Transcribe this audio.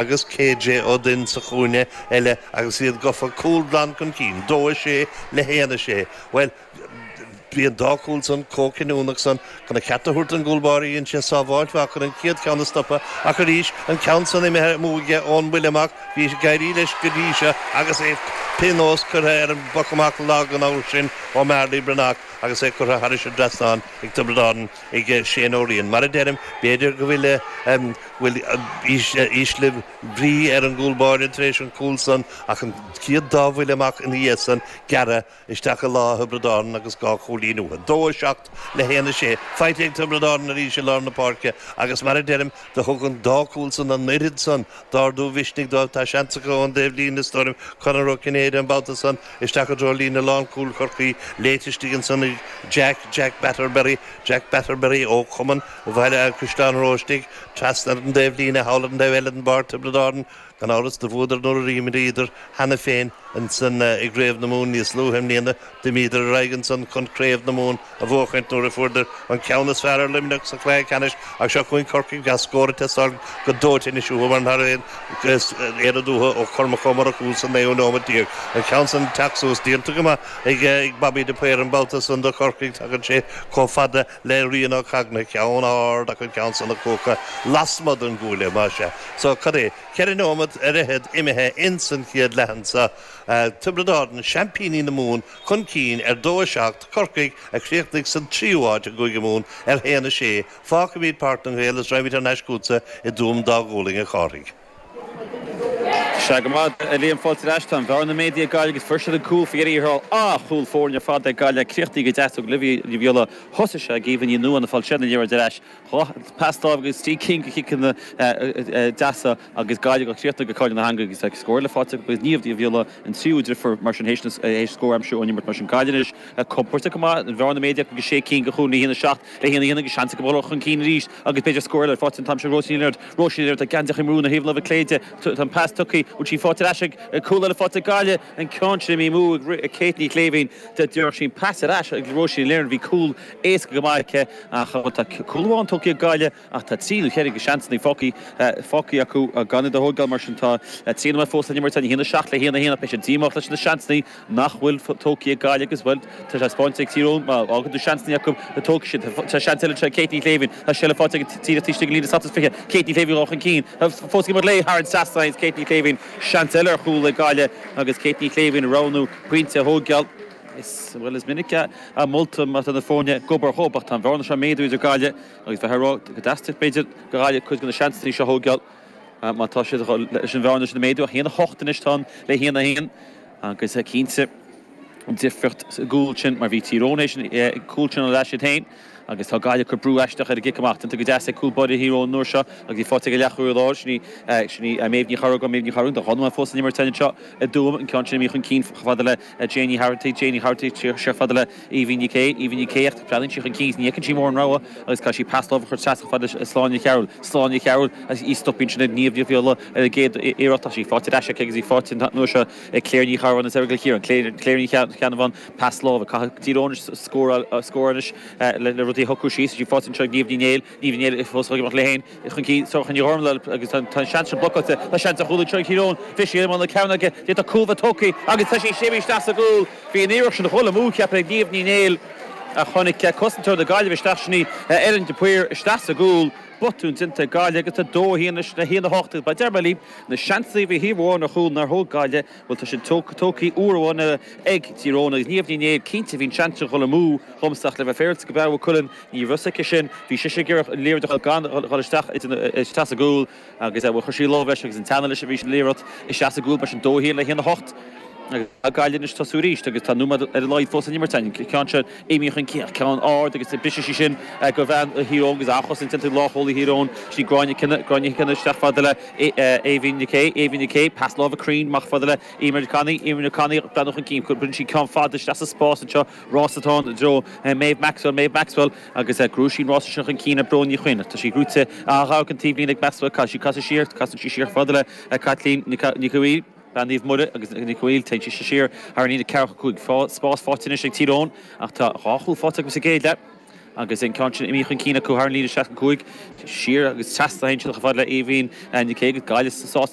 Agus KJ Ó Duinn sa chúinne eile agus iad gafa cúl glan chun cinn, 2, 6 le 1, 6. Bhuel, bhí an dá chúl san chomh cinniúnach san chun a cheart a thabhairt don gcúl báire dhein sé sábháilt mhaith chun an chéad cheann a stopadh ach arís an ceann san imithe amú aige ón mbuille amach, bhí ag éirí leis go dtí seo agus é pionós curtha ar an bpoc amach lag an uair sin ó Marley Breathnach agus é curtha thairis an dtrasnán ag Tiobraid Árann. ag Shane Ó Riain. Mar a deirim, b'fhéidir go bhfuil bhfuil ísle brí ar an gcúl báire tar éis an cúl san ach an chéad dá bhuille amach ina dhiaidh san gearrtha isteach i lámha Thiobraid Árann agus 2 chúilín uathu. 2, 7 le 1, 6. Faighte ag Tiobraid Árann arís i lár na páirce agus mar a deirim, do thug an dá chúl san an oiread san d'ardú mhisnigh dóibh. Tá seans acu ón dtaobh líne is dóigh liom, Conor Ó Cinnéide an babhta san isteach i dtreo líne lánchúil Chorcaí, léite istigh ansan ag Jack, Jack Batterberry, Jack Batterberry ó Chumann Bhaile Chaisleáin Oróistigh, trasna ar an dtaobh líne, thall ar an dtaobh eile den bpáirc, Tiobraid Árann, gan amhras, do bhuadar nuair a d'imríodar cheana féin ansan i gCraobh na Mumhan níos luaithe i mbliana. D'imíodar ar aghaidh ansan chun Craobh na Mumhan a bhuachaint nuair a fuaireadar an ceann is fearr ar Luimneach sa chluiche ceannais ach seo chugainn Corcaigh tá scór ag teastáil go dóite anois uathu mar nach raibh aon oiread uathu ó Chormac Ó Murchú sa naoú nóiméad déag. An ceann san ag teacht suas déanta go maith ag Bobby de Paor an babhta san do Chorcaigh tagann sé chomh fada le Rian Ó Cagna ceann ard ach an ceann san ag cuachadh lasmuigh den gcuaille más ea. So cad é? Ceithre nóiméad ar fhichead imithe ins an chéad leath anso. Tiobraid Árann, seaimpíní na Mumhan, chun cinn ar 2, 7, Corcaigh, a chríochnaigh san tríú háit i gCúige Mumhan, ar 1, 6. Fágfaimid Páirc na nGael is raghaimid thar n-ais chugatsa i dTuaim Dá Ghualainn, a Chárthaigh. Sea go maith, a Liam, fáilte ar ais. Tá an bhearna méadaithe ag Gaillimh agus fuair siad an cúl faoi dheireadh thiar thall. Ah, chúl foirne ar fad ag Gaillimh. Críochnaithe go deas ag Olivia Ní Bhiolla. Thosaigh sé ag Aoibhinn Ní Nuadháin ag fáil sé na liathróid ar ais. Pas láimhe agus trí cinn de chiceanna deasa agus Gaillimh á chríochnú go cáil na heanga agus tá scór eile faighte acu agus Niamh Ní Bhiolla an tríú deirfiúr mar sin théis scór a aimsiú ón imirt mar sin Gaillimh anois compordach go maith an bhearna méadaithe acu go sé cinn de chúl 1 7 le 1 1 agus seans acu dul chun cinn arís agus b'fhéidir scór eile faighte an t-am seo Róisín Ní Lionáird Róisín Ní Lionáird tá geansaí i mbrú ina thaobh láimhe clé di tá an pas tugtha bhfuil sí faighte ar ais ag cúl eile faighte ag Gaillimh an ceann sin imithe amú ag Kate Ní Chléibhín D'éirigh sí an pas ar ais ag Róisín Ní Lionáird, bhí cúl éasca go maith aici ach tá cúl amháin tógtha ag Gaillimh ach tá trí nó cheithre de sheansanna fágtha acu gan iad a thógáil mar sin tá 3 nóiméad fós le himirt ann, 1, 7 le 1, 1 ach beidh siad díomách leis na seansanna nach bhfuil tógtha ag Gaillimh agus bhuel tá sé spáinte ag Tír Eoghain má fhágann tú seansanna acu tógfaidh siad. Tá seans eile anseo ag Kate Ní Chléibhín, tá seilbh faighte ag díreach taobh istigh den líne 27, Kate Ní Chléibhín dul chun cinn, fós ag imirt léi thar an trasnán Kate Ní Chléibhín, seans eile ar chúl ag Gaillimh agus Kate Ní Chléibhín ag roghnú pointe a thógáil. Is, bhuel, is minic a moltar má tá na foirne ag obair dhób ach tá an bhearna seo ag méadú idir Gaillimh agus bheith ag rá go dteastódh b'fhéidir do Ghaillimh cuid de na seansanna seo a thógáil má tá siad leis an bhearna sin a mhéadú ach 1-8 anois tá ann le 1-1 agus cinnte an difríocht sa gcúl sin mar bhí Tír Eoghain théis an cúl sin a fháil iad féin Agus tá Gaillimh ag cur brú aisteach ar an gcic amach. Déanta go deas ag cúl báire Thír Eoghain an uair seo agus í faighte ag an leathchúlaí láir. Sin í, sin í Méabh Ní Chorragáin, Méabh Ní Chorragáin. Tá dhá nóiméad fós le himirt anseo i dTuaim. An ceann sin imithe chun cinn chomh fada le Jane Ní Tharrantaigh, Jane Ní Tharrantaigh siar chomh fada le Aoibhín Ní Cé, Aoibhín Ní Cé ach breathnaíonn sí chun cinn is ní fheiceann sí mórán rogha agus caithfidh sí pas láimhe a chur trasna chomh fada le Sláine Ní Chearúil, Sláine Ní Chearúil agus í stoptha ansin ag Niamh Ní Bhiolla ar an gcéad iarracht ach í faighte ar ais aici agus í faighte an uair seo ag Claire Ní Cheannabháin is Eric Ciarán, Claire, Claire Ní Cheannabháin. Pas láimhe. Caithfidh Tír Eoghain anois scóráil anois le rudaí a shocrú síos. Tá sí faighte anseo ag Niamh Ní Néill. Niamh Ní Néill fós ag imeacht léi féin chun cinn. Sorcha Ní Ghormlaithe agus tá an seans sin blocáilte. Tá seans ar chúl anseo ag Tír Eoghain. Bhí sí i mbun na cearn aige. D'fhéadfadh cúl bheith tógtha agus tá sí imithe isteach sa gcúl. Bhí an iarracht sin a dhul amú cheapfainn ag Niamh Ní Néill ach tháinig cosantóir na Gaillimhe isteach sin í Erin de Paor isteach sa gcúl. Botún déanta ag Gaillimh agus tá 2-1 anois le 1-8 agus mar a deir mé libh na seansanna a bhí thaobh amháin ar chúl nár thóg Gaillimh bhuel tá siad tógtha uair amháin eile ag Tír Eoghain agus Niamh Ní Néill, cinnte bhí an seans sin dhul amú dhomsa ach le bheith féaráilte go breá Cuilinn, ní raibh fhios aici sin, bhí sise ag iarraidh an liathróid a fháil gan dhul isteach isteach sa gcúl agus bhuel chuir sí lámh leis agus an teannadh leis a bhí an liathróid isteach sa gcúl mar sin 2-1 le 1-8 agus tá Gaillimh anois tosú arís agus tá nóiméad ar a laghad fós san imirt an ceann seo imithe chun cinn ceann ard agus briseann sí sin go bhean Thír Eoghain agus an-chosaint déanta ag lánchúlaí Thír Eoghain sí Gráinne Kinne Gráinne Kinne isteach fada le Aoibhín Nic Aodh Aoibhín Nic Aodh pas láimhe cruinn amach fada le Eimear Connolly, Eimear Connolly, breathnú chun cinn, cuireann sí ceann fada isteach sa spás anseo, rás atá ann i dtreo Maeve Maxwell, Maeve Maxwell agus gnóthaíonn sí an rása sin chun cinn ar Bróin Ní Chuinn. Tá sí gnóite an taobhlíne ag Maxwell, caithfidh sí casadh siar, casann sí siar fada le Caitlín Nic Caoimh, bean Naomh Muire agus Nic Caoimh, téann sí siar thar an líne 45. Spás faighte anois ag Tír Eoghain ach tá dhá chúl faighte acu sa gcéad leath. Agus an ceann sin imithe chun cinn acu thar an líne 65, siar agus trasna ansin chomh fada le Aoibhín Nic Aoidh. Gaillimh sásta.